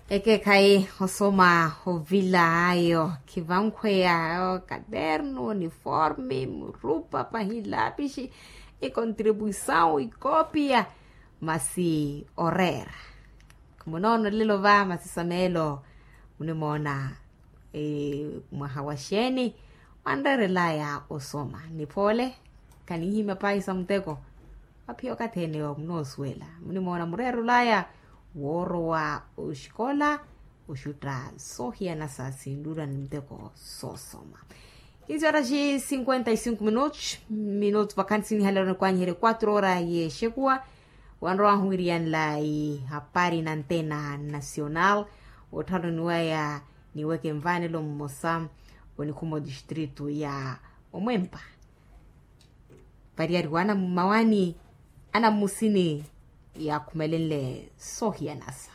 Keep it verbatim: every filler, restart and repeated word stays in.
Ekeekhayi osoma ovila ayo khivankhweya, katernu uniforme murupa pahi lapixi, ikontribuisawu ikoopiya. Masi oreera, munoono lelo va masi sameelo munimoona. Mwaha wa xeeni wanreerelaya osoma niphoole? Khanihimya pahi sa muteko. Aphiya okathi ene munoosuwela munimoona mureerelaya woorowa oxikola oxutta soohiyana sa sinluula ni muteko soosoma. Kinsi horas cinquenta e cinco minutos minutos vakansi nihalelo nikwanyiherye quatro horas yexekuwa. Wanrowahu wiriyanlayi hapari na antena nacional. Otthalo niwaya niweke nvanelo mmosa onikhuma odistritu ya omwempa. Variyari wa anamumawani anammusini yaakhumelenle soohiyanasa.